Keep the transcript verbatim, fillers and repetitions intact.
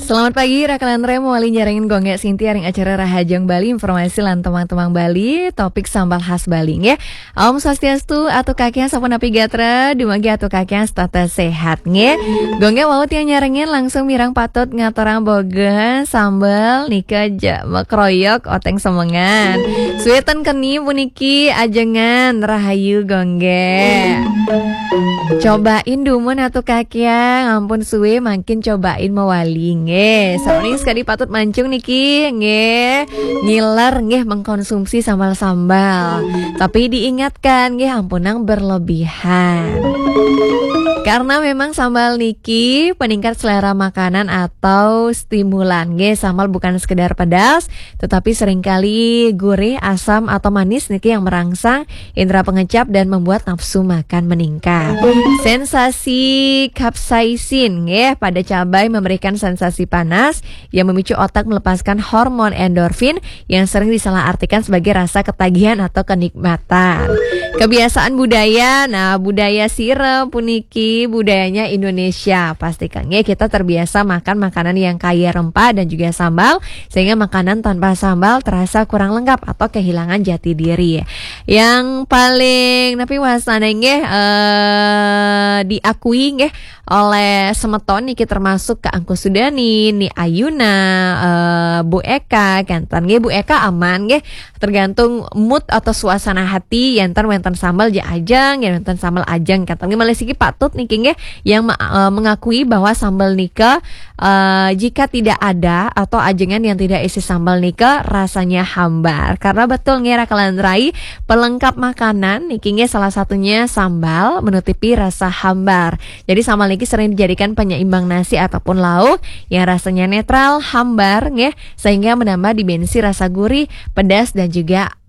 Selamat pagi, Rakalan Rem, wali nyarengin Gonggé Sinti aring acara Rahajeng Bali, informasi lan temang-temang Bali, topik sambal khas Bali, nggih. Om Swastiastu, Atu Kakian sapunapi gatra, dumugi Atu Kakian setata sehat, nggih. Gonggé wau tiang nyarengin langsung mireng patut ngaturang boga sambal nika ja, makroyok oteng semengan. Suéten keni puniki ajengan rahayu Gonggé. Cobain dumun Atu Kakian, ampun suwé mangkin cobain mawali nggih. Saoning sekadi patut mancung niki nggih. Ngiler nggih mengkonsumsi sambal-sambal. Tapi diingatkan nggih ampunang berlebihan. Karena memang sambal niki peningkat selera makanan atau stimulan nggih. Sambal bukan sekedar pedas, tetapi seringkali gurih, asam atau manis niki yang merangsang indera pengecap dan membuat nafsu makan meningkat. Sensasi capsaicin nggih pada cabai memberikan sensasi panas yang memicu otak melepaskan hormon endorfin yang sering disalahartikan sebagai rasa ketagihan atau kenikmatan. Kebiasaan budaya, nah budaya sira puniki budayanya Indonesia. Pastikan nggih kita terbiasa makan makanan yang kaya rempah dan juga sambal, sehingga makanan tanpa sambal terasa kurang lengkap atau kehilangan jati diri. Yang paling napi wasana nggih eh, diakui nggih oleh semeton niki termasuk Kak Angku Sudani, Ni Ayuna, eh, Bu Eka, kanten nggih Bu Eka aman nggih. Tergantung mood atau suasana hati, yanten wenten sambal ja ajeng, yan wenten sambal ajeng kanten nggih malih siki patut niki nggih yang me- eh, mengakui bahwa sambal nika eh, jika tidak ada atau ajengan yang tidak isi sambal nika rasanya hambar. Karena betul nggih Rakalan Rai, pelengkap makanan niki nggih salah satunya sambal menutupi rasa hambar. Jadi sambal niki sering dijadikan penyeimbang nasi ataupun lauk yang rasanya netral, hambar nggih, sehingga menambah dimensi rasa gurih, pedas dan juga